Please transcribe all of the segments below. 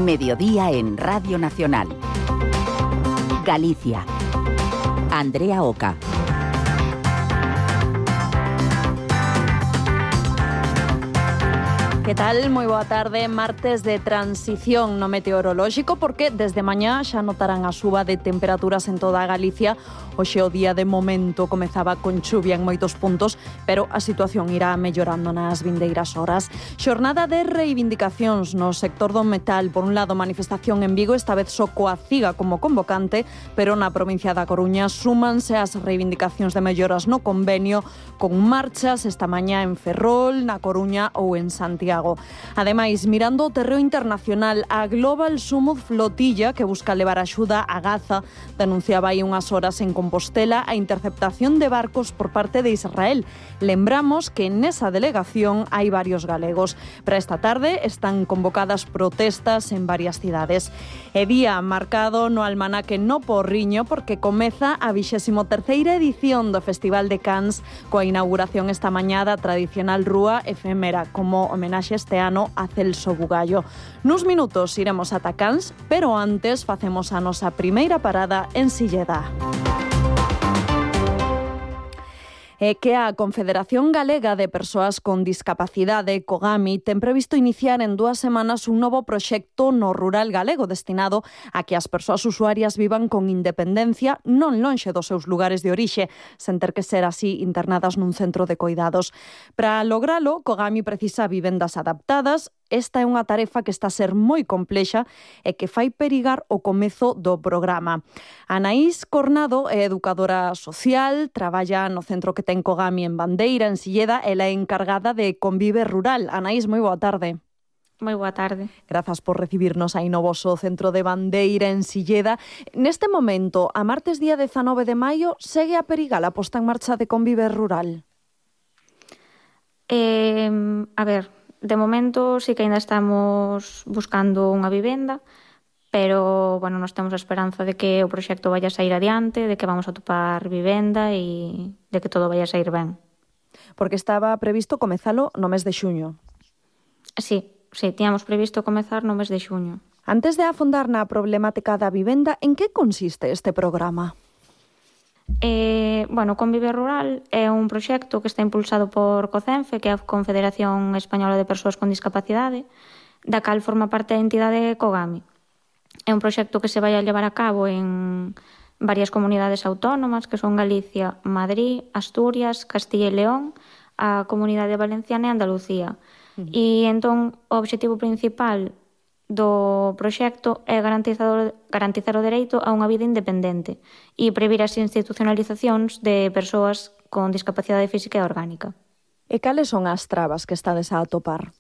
Mediodía en Radio Nacional. Galicia. Andrea Oca. Que tal? Moi boa tarde, martes de transición no meteorolóxico, porque desde mañá xa notarán a suba de temperaturas en toda a Galicia. Hoxe o día de momento comezaba con chuvia en moitos puntos, pero a situación irá mellorando nas vindeiras horas. Xornada de reivindicacións no sector do metal. Por un lado, manifestación en Vigo, esta vez só coa CIGA como convocante, pero na provincia da Coruña súmanse as reivindicacións de melloras no convenio, con marchas esta mañá en Ferrol, na Coruña ou en Santiago. Ademais, mirando o terreo internacional, a Global Summit Flotilla, que busca levar axuda a Gaza, denunciaba aí unhas horas en Compostela a interceptación de barcos por parte de Israel. Lembramos que nesa delegación hai varios galegos. Para esta tarde están convocadas protestas en varias cidades. E día marcado no almanaque no Porriño, porque comeza a 23ª edición do Festival de Cans, coa inauguración esta mañá da tradicional rúa efémera, como homenaxe este ano a Celso Bugallo. Nuns minutos iremos ata Cans, pero antes facemos a nosa primeira parada en Silleda. É que a Confederación Galega de Persoas con Discapacidade, COGAMI, ten previsto iniciar en 2 semanas un novo proxecto no rural galego destinado a que as persoas usuarias vivan con independencia non lonxe dos seus lugares de orixe, sen ter que ser así internadas nun centro de coidados. Para logralo, COGAMI precisa vivendas adaptadas. Esta é unha tarefa que está a ser moi complexa e que fai perigar o comezo do programa. Anaís Cornado é educadora social, traballa no centro que ten COGAMI en Bandeira, en Silleda, ela é encargada de Convive Rural. Anaís, moi boa tarde. Moi boa tarde. Grazas por recibirnos aí no voso centro de Bandeira, en Silleda. Neste momento, a martes día 19 de maio, segue a perigar a posta en marcha de Convive Rural? A ver, de momento sí que ainda estamos buscando unha vivenda, pero, bueno, nós temos a esperanza de que o proxecto vaya a sair adiante, de que vamos a topar vivenda e de que todo vaya a sair ben. Porque estaba previsto comezalo no mes de xuño. Sí, tiñamos previsto comezar no mes de xuño. Antes de afondar na problemática da vivenda, en que consiste este programa? Bueno, Convive Rural é un proxecto que está impulsado por COCENFE, que é a Confederación Española de Persoas con Discapacidade, da cal forma parte a entidade COGAMI. É un proxecto que se vai a levar a cabo en varias comunidades autónomas, que son Galicia, Madrid, Asturias, Castilla e León, a Comunidade Valenciana e Andalucía. E entón o obxectivo principal do proxecto é garantizar o dereito a unha vida independente e previr as institucionalizacións de persoas con discapacidade física e orgánica. E cales son as trabas que estades a atopar?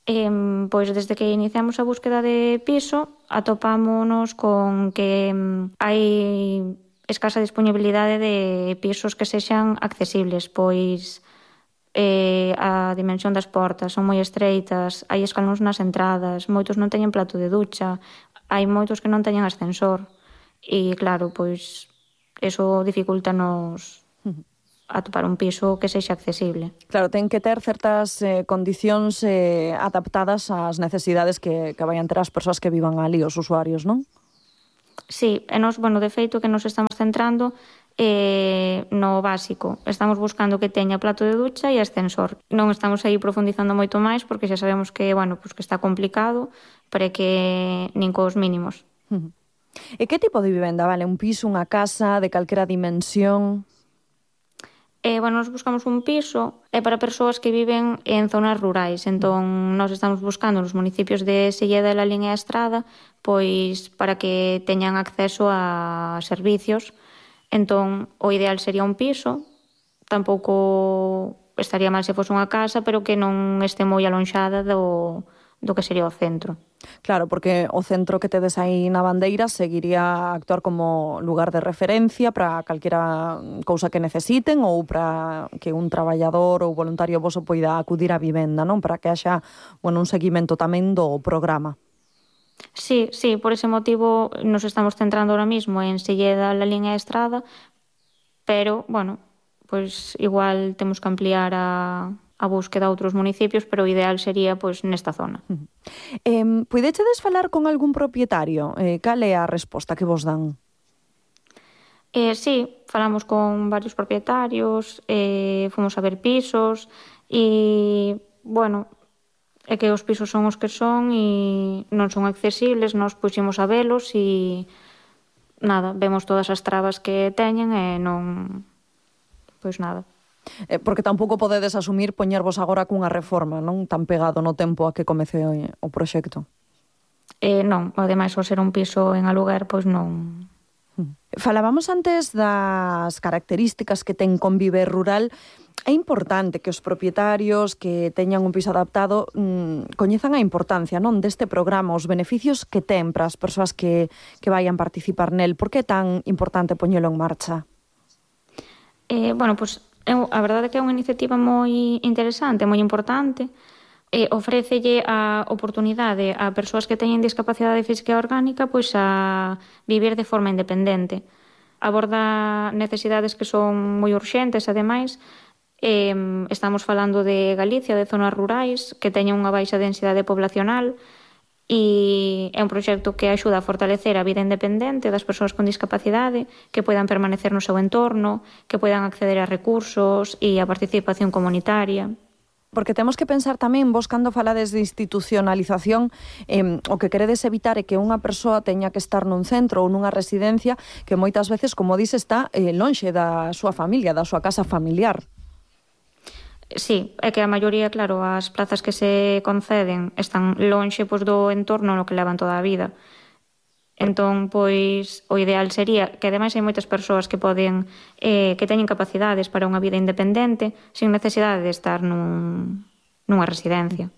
Pois desde que iniciamos a búsqueda de piso atopámonos con que hai escasa disponibilidade de pisos que sexan accesibles, pois a dimensión das portas son moi estreitas, hai escalóns nas entradas, moitos non teñen plato de ducha, hai moitos que non teñen ascensor e claro, pois eso dificultanos atopar un piso que sexa accesible. Claro, ten que ter certas condicións adaptadas ás necesidades que vayan ter as persoas que vivan ali, os usuarios, non? Sí, e nos, bueno, de feito que nos estamos centrando no básico. Estamos buscando que teña plato de ducha e ascensor. Non estamos aí profundizando moito máis porque xa sabemos que, bueno, pues que está complicado, pero que nin cos mínimos. E que tipo de vivenda, vale? Un piso, unha casa, de calquera dimensión? Bueno, nos buscamos un piso para persoas que viven en zonas rurais. Entón, nós estamos buscando nos municipios de Silleda e Lalín e a Estrada, pois para que teñan acceso a servicios. Entón, o ideal sería un piso, tampouco estaría mal se fose unha casa, pero que non este moi alonxada do que sería o centro. Claro, porque o centro que tedes aí na Bandeira seguiría a actuar como lugar de referencia para calquera cousa que necesiten ou para que un traballador ou voluntario voso poida acudir á vivenda, non? Para que haxa, bueno, un seguimento tamén do programa. Sí, por ese motivo nos estamos centrando ahora mismo en Silleda, Lalín e a Estrada, pero, bueno, pois igual temos que ampliar a búsqueda a outros municipios, pero o ideal sería pois nesta zona. Puidechedes falar con algún propietario? Cal é a resposta que vos dan? Sí, falamos con varios propietarios, fomos a ver pisos e, bueno, é que os pisos son os que son e non son accesibles, nós puximos a velos e nada, vemos todas as trabas que teñen e non, pois nada. Porque tampouco podedes asumir poñervos agora cunha reforma, non tan pegado no tempo a que comece o proxecto. Non, ademais, ao ser un piso en aluguer, pois non. Falábamos antes das características que ten Convive Rural. É importante que os propietarios que teñan un piso adaptado coñezan a importancia, non, deste programa, os beneficios que ten para as persoas que vayan participar nel. Por que é tan importante poñelo en marcha? Bueno, pois a verdade é que é unha iniciativa moi interesante, moi importante. Ofrécelle a oportunidade a persoas que teñen discapacidade física e orgánica pois a vivir de forma independente. Aborda necesidades que son moi urxentes, ademais. Estamos falando de Galicia, de zonas rurais, que teñen unha baixa densidade poblacional e é un proxecto que axuda a fortalecer a vida independente das persoas con discapacidade, que poidan permanecer no seu entorno, que poidan acceder a recursos e a participación comunitaria. Porque temos que pensar tamén, vos cando falades de institucionalización, o que queredes evitar é que unha persoa teña que estar nun centro ou nunha residencia que moitas veces, como dis, está lonxe da súa familia, da súa casa familiar. Sí, é que a maioría, claro, as plazas que se conceden están lonxe pois, do entorno no que levan toda a vida. Entón, pois, o ideal sería que ademais hai moitas persoas que poden que teñen capacidades para unha vida independente sin necesidade de estar nunha residencia.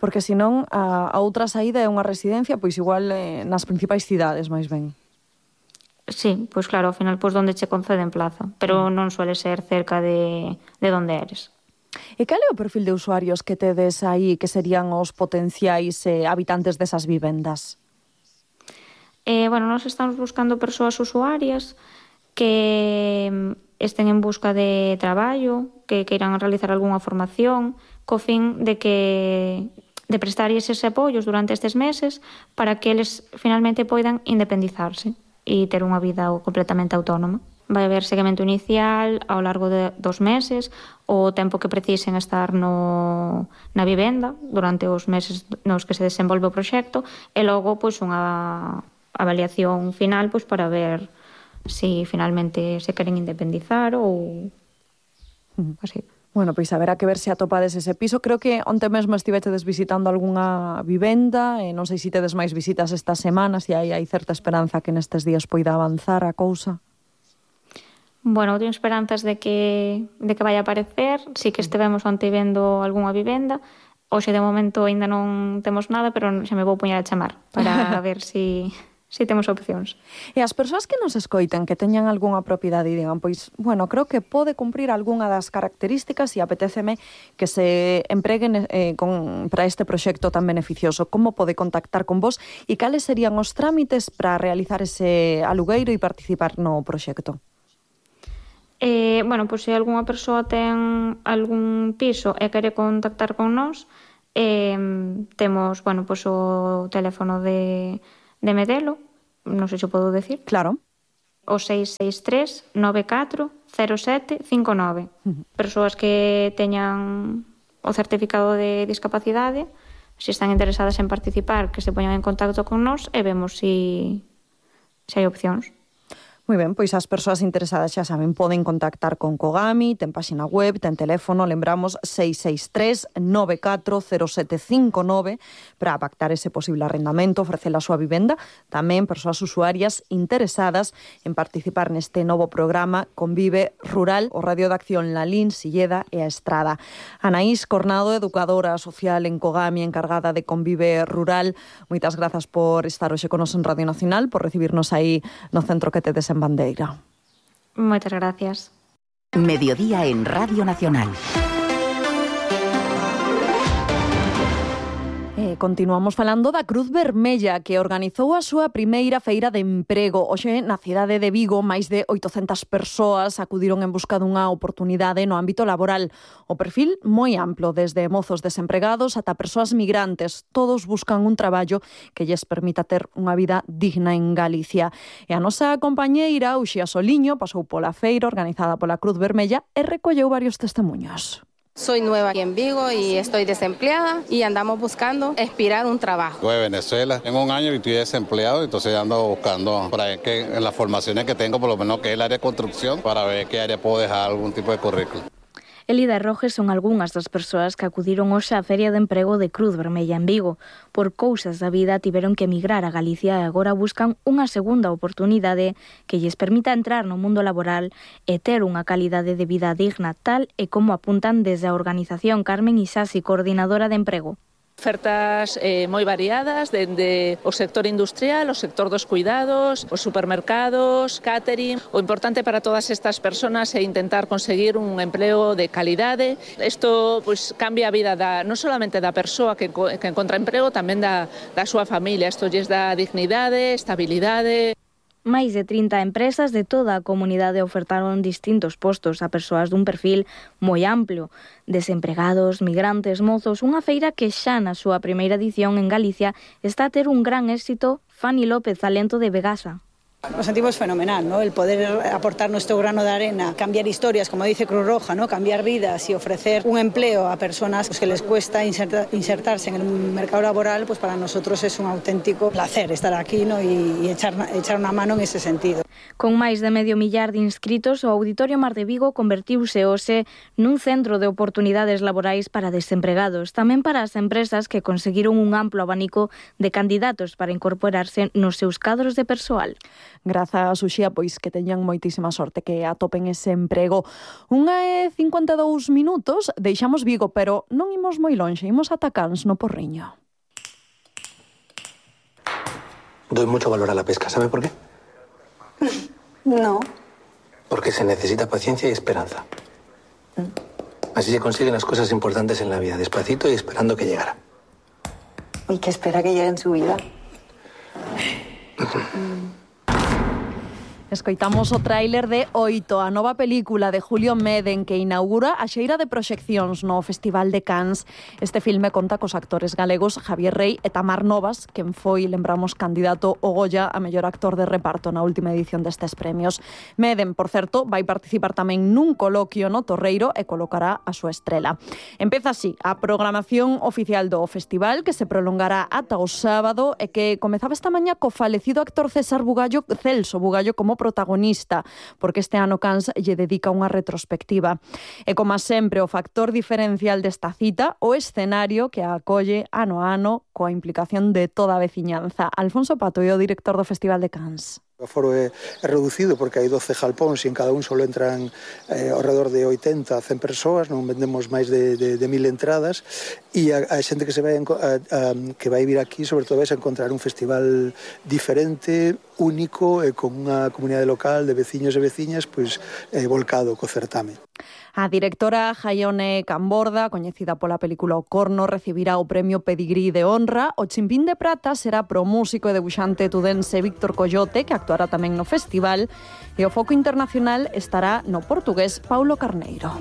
Porque senón a outra saída é unha residencia, pois igual nas principais cidades, máis ben. Sí, pois claro, ao final pois onde che conceden plaza, pero non suele ser cerca de onde eres. E cal é o perfil de usuarios que tedes aí que serían os potenciais habitantes desas vivendas? Bueno, nós estamos buscando persoas usuarias que estén en busca de traballo, que queiran realizar algunha formación, co fin de prestar eses apoios durante estes meses para que eles finalmente poidan independizarse e ter unha vida completamente autónoma. Vai haber seguimento inicial ao largo de 2 meses, o tempo que precisen estar na vivenda durante os meses nos que se desenvolve o proxecto e logo pois unha avaliación final pois para ver se finalmente se queren independizar ou así. Bueno, pois haberá que ver se atopades ese piso. Creo que onte mesmo estivechedes visitando algunha vivenda, non sei se tedes máis visitas estas semanas e hai certa esperanza que nestes días poida avanzar a cousa. Bueno, teño esperanzas de que vai aparecer. Si que estivemos onte vendo algunha vivenda. Hoxe de momento aínda non temos nada, pero xa me vou poñer a chamar para ver si temos opcións. E as persoas que nos escoiten, que teñan algunha propiedade e digan, pois, bueno, creo que pode cumprir algunha das características e apetéceme que se empreguen para este proxecto tan beneficioso. Como pode contactar con vos e cales serían os trámites para realizar ese alugueiro e participar no proxecto? Bueno, pois se algunha persoa ten algún piso e quere contactar con nós, temos, bueno, pois o teléfono de Medelo, non sei se o podo decir. Claro. O 663 94 07 59. Persoas que teñan o certificado de discapacidade, se están interesadas en participar, que se poñan en contacto con nós e vemos se hai opcións. Moi ben, pois as persoas interesadas xa saben, poden contactar con Cogami, ten páxina web, ten teléfono, lembramos 663 94 0759 para pactar ese posible arrendamento, ofrecer a súa vivenda. Tamén persoas usuarias interesadas en participar neste novo programa Convive Rural, o Radio de Acción Lalín, Silleda e a Estrada. Anaís Cornado, educadora social en Cogami, encargada de Convive Rural, moitas grazas por estar hoxe con nos en Radio Nacional, por recibirnos aí no centro que tedes en Bandeira. Moitas gracias. Mediodía en Radio Nacional. Continuamos falando da Cruz Vermella, que organizou a súa primeira feira de emprego. Hoxe, na cidade de Vigo, máis de 800 persoas acudiron en busca dunha oportunidade no ámbito laboral. O perfil moi amplo, desde mozos desempregados ata persoas migrantes. Todos buscan un traballo que lles permita ter unha vida digna en Galicia. E a nosa compañeira, Uxía Soliño, pasou pola feira organizada pola Cruz Vermella e recolleu varios testemunhos. Soy nueva aquí en Vigo y estoy desempleada y andamos buscando aspirar un trabajo. Soy de Venezuela, tengo un año y estoy desempleado, entonces ando buscando para ver que en las formaciones que tengo, por lo menos que es el área de construcción, para ver qué área puedo dejar algún tipo de currículum. Elida e Roges son algunhas das persoas que acudiron hoxe á Feria de Emprego de Cruz Vermella en Vigo. Por cousas da vida tiveron que emigrar a Galicia e agora buscan unha segunda oportunidade que lles permita entrar no mundo laboral e ter unha calidade de vida digna, tal e como apuntan desde a organización Carmen Isasi, coordinadora de emprego. Ofertas moi variadas, dende o sector industrial, o sector dos cuidados, os supermercados, catering. O importante para todas estas personas é intentar conseguir un empleo de calidade. Isto pues, cambia a vida non solamente da persoa que encontra emprego, tamén da súa familia. Isto lles dá dignidade, estabilidade. Máis de 30 empresas de toda a comunidade ofertaron distintos postos a persoas dun perfil moi amplo, desempregados, migrantes, mozos, unha feira que xa na súa primeira edición en Galicia está a ter un gran éxito. Fanny López, talento de Vegasa. Nos sentimos fenomenal, ¿no? El poder aportar nuestro grano de arena, cambiar historias, como dice Cruz Roja, ¿no? Cambiar vidas y ofrecer un empleo a personas que les cuesta insertarse en el mercado laboral, pues para nosotros es un auténtico placer estar aquí, ¿no? y echar una mano en ese sentido. Con máis de 500.000 de inscritos, o Auditorio Mar de Vigo convertiuse hoxe nun centro de oportunidades laborais para desempregados, tamén para as empresas que conseguiron un amplo abanico de candidatos para incorporarse nos seus cadros de persoal. Grazas, Uxía, pois que teñan moitísima sorte, que atopen ese emprego. 1:52 minutos, deixamos Vigo, pero non imos moi lonxe, imos ata Cans, no Porriño. Doy mucho valor a la pesca, ¿sabe por qué? No. Porque se necesita paciencia y esperanza. Así se consiguen las cosas importantes en la vida, despacito y esperando que llegara. ¿Y qué espera que llegue en su vida? Escoitamos o tráiler de Oito, a nova película de Julio Meden que inaugura a xeira de proxeccións no Festival de Cans. Este filme conta cos actores galegos Javier Rey e Tamar Novas, quen foi, lembramos, candidato ao Goya a mellor actor de reparto na última edición destes premios. Meden, por certo, vai participar tamén nun coloquio no Torreiro e colocará a súa estrela. Empeza así a programación oficial do festival, que se prolongará ata o sábado e que comezaba esta mañá co falecido actor Celso Bugallo como protagonista, porque este ano Cans lle dedica unha retrospectiva. E como sempre, o factor diferencial desta cita, o escenario que a acolle ano a ano coa implicación de toda a veciñanza. Alfonso Pato é o director do Festival de Cans. O aforo é reducido porque hai 12 jalpóns e en cada un só entran ao redor de 80 a 100 persoas, non vendemos máis de 1000 entradas e a xente que se vai que vai vir aquí sobre todo vai a encontrar un festival diferente, único e con unha comunidade local de veciños e veciñas pois volcado co certame. A directora Jaione Camborda, coñecida pola película O Corno, recibirá o premio Pedigrí de honra. O Chimpín de Prata será pro músico e debuxante tudense Víctor Coyote, que actuará tamén no festival, e o foco internacional estará no portugués Paulo Carneiro.